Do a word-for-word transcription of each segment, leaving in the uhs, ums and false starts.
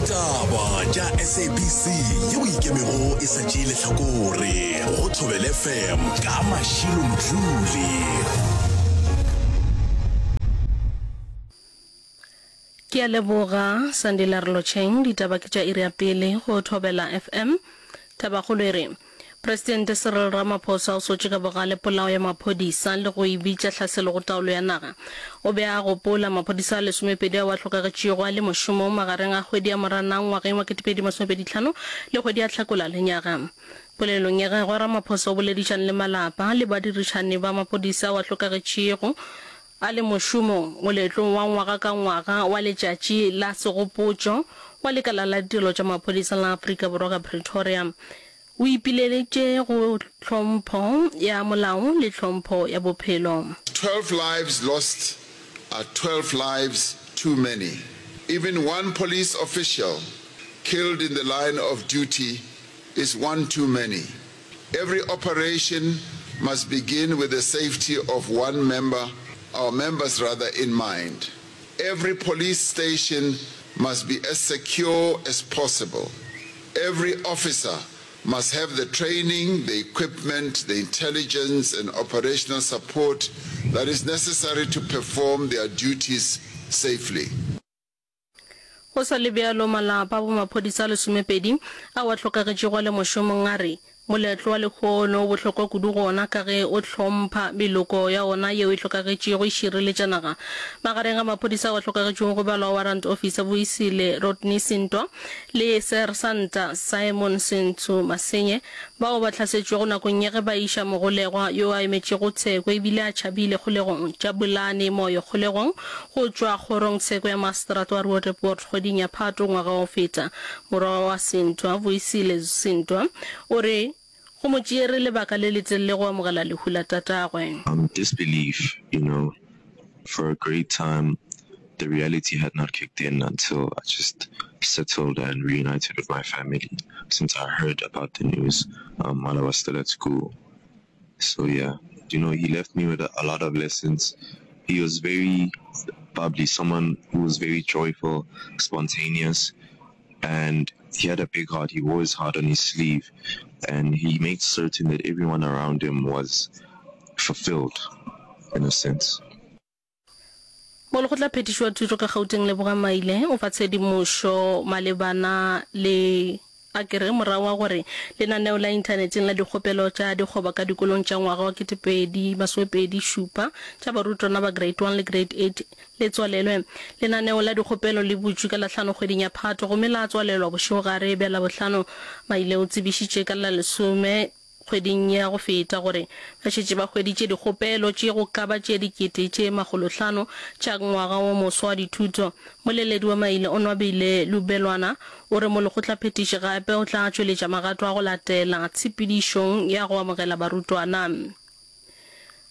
Ditaba tša S A B C yeo ikemego e sa tšee lehlakore go Thobela F M ka Mashilo Mdluli. Ke a leboga Sandile Relotšheng. Ditaba ke tša iri ya pele go Thobela F M. Tabakgolo e re Presidente Cyril Ramaphosa o sotše ka bogale polao ya maphodisa le go e bitša hlaselo go taolo ya naga. O be a gopola maphodisa a lesomepedi ao a hlokagetšego a le mošomong magareng a kgwedi ya Moranang ngwageng wa ketepedi masomepedi hlano le kgwedi ya Hlakola lenyaga. Polelong ya gagwe, Ramaphosa o boledišane le malapa le badirišani ba maphodisa ao a hlokagetšego a le mošomong moletlong wa ngwaga ka ngwaga wa Letšatši la Segopotšo wa Lekala la Ditirelo tša Maphodisa la Afrika Borwa ka Pretoria. O ipileditše go tlhompho ya molao le tlhompho ya bophelo. twelve lives lost are twelve lives too many. Even one police official killed in the line of duty is one too many. Every operation must begin with the safety of one member, our members rather, in mind. Every police station must be as secure as possible. Every officer must have the training, the equipment, the intelligence and operational support that is necessary to perform their duties safely. Go sa le bjalo, malapa a bomaphodisa a lesomepedi ao a hlokagetšego a le mošomong a re moletlo wa lehono o bohlokwa kudu go ona ka ge o hlompha meloko ya ona yeo e hlokagetšego e šireletša naga. Magareng ga maphodisa ao a hlokagetšego go balwa Warrant Officer Vuyisile Rodney Sintwa le Sersanta Simon Sentsho Masenye bao ba hlasetšwego nakong ya ge ba iša mogolegwa yo a emetšego tsheko ebile a tšhabile kgolegong Jabulani Moyo kgolegong go tšwa kgorongtsheko ya Maseterata wa Roodepoort kgweding ya Phato ngwaga wa go feta. Morwa wa Sintwa, Vuyisile Sintwa, o re go mo tšeere lebaka le letelele go amogela lehu la tatagwe. Um, disbelief, you know, for a great time the reality had not kicked in until I just settled and reunited with my family since I heard about the news um, while I was still at school. So yeah, you know, he left me with a, a lot of lessons. He was very bubbly, someone who was very joyful, spontaneous, and he had a big heart. He wore his heart on his sleeve, and he made certain that everyone around him was fulfilled in a sense. Molekgotla phethiši wa thuto ka Gauteng Lebogang Maile o fa tshedimošo malebana le a ke re morago wa gore lenaneo la inthaneteng la dikgopelo tša dikgoba ka dikolong tša ngwaga wa ketepedi masomepedi šupa tša barutwana ba grade one le grade eight le tswalelwe. Lenaneo la dikgopelo le butšwe ka Lahlano kgweding ya Phato gomme la tswalelwa bošegogare bja Labohlano. Maile o tsebišitše ka la lesome kgweding ya go feta gore ba šetše ba hweditše dikgopelo tše go ka ba tše dikete tše makgolohlano tša ngwaga wo moswa wa dithuto. Moleledi wa Maile Onwabile Lubelwana o re molekgotlaphethiši gape o tla tšweletša magato a go latela tshepedišong ya go amogela barutwana.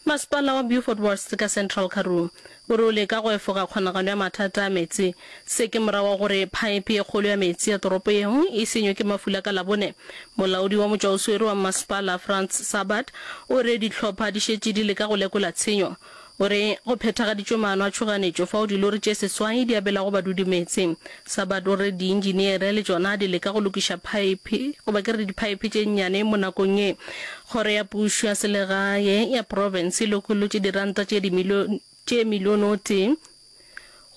Masepala wa Beaufort West ka Central Karoo o re o leka go efoga kgonagalo ya mathata a meetse. Se ke morago ga gore phaephe ye kgolo ya meetse ya toropo yeo e senywe ke mafula ka Labone. Molaodi wa motšwaoswere wa masepala Frans Sabat o re dihlopha di šetše di leka go lekola tshenyo. O re go phethagaditšwe maano a tšhoganetšo fao dilori tše seswai di abelago badudi meetse. Sabat o re diinjiniere le tšona di leka go lokiša phaephe goba ke re diphaephe tše nnyane mo nakong ye. Kgoro ya pušo ya selegae ya profense e lokolotše diranta tše tše milione o tee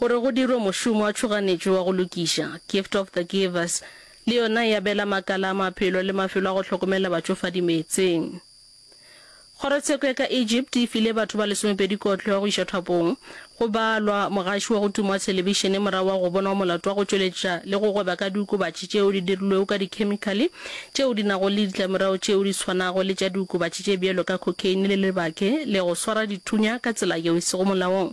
gore go dirwe mošomo wa tšhoganetšo wa go lokiša. Gift of the Givers le yona e abela makala a maphelo le mafelo a go hlokomela batšofadi meetseng. Kgorotsheko ya ka Egypt e file batho ba lesomepedi kotlo ya go iša thapong go balwa mogaši wa go tuma wa thelebišene morago wa go bonwa molato wa go tšweletša le go gweba ka diokobatši tšeo di dirilwego ka dikhemikhale tšeo di nago le ditlamorago tšeo di swanago le tša diokobatši tše bjalo ka cocaine le lebake le go swara dithunya ka tsela yeo e sego molaong.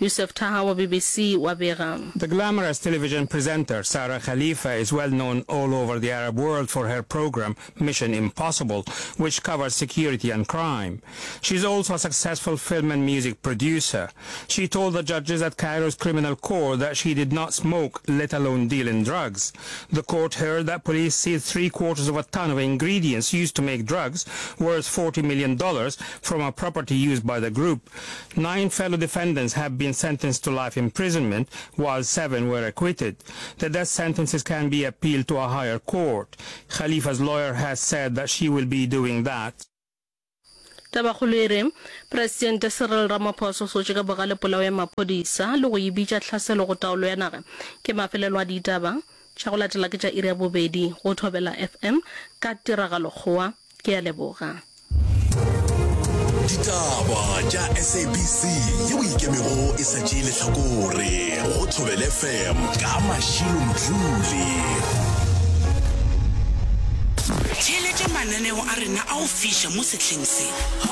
Yousef Taha wa B B C wa bega. The glamorous television presenter Sarah Khalifa is well known all over the Arab world for her program Mission Impossible, which covers security and crime. She's also a successful film and music producer. She told the judges at Cairo's criminal court that she did not smoke, let alone deal in drugs. The court heard that police seized three quarters of a ton of ingredients used to make drugs, worth forty million dollars, from a property used by the group. Nine fellow defendants have been been sentenced to life imprisonment, while seven were acquitted. The death sentences can be appealed to a higher court. Khalifa's lawyer has said that she will be doing that. Tabakgolo e re, Presidente Cyril Ramaphosa o sotše ka bogale polao ya maphodisa le go e bitša tlhaselo go taolo ya naga. Ke mafelelo a ditaba tša go latela ke tša iri ya bobedi go Thobela FM ka Tiragalo Kgowa. Ke a leboga. Ditaba tša SABC yeo e ikemego e sa tšee lehlakore go Thobela FM ka Mashilo Mdluli. Theeletša mananeo a rena a go fiša mo sehleng se.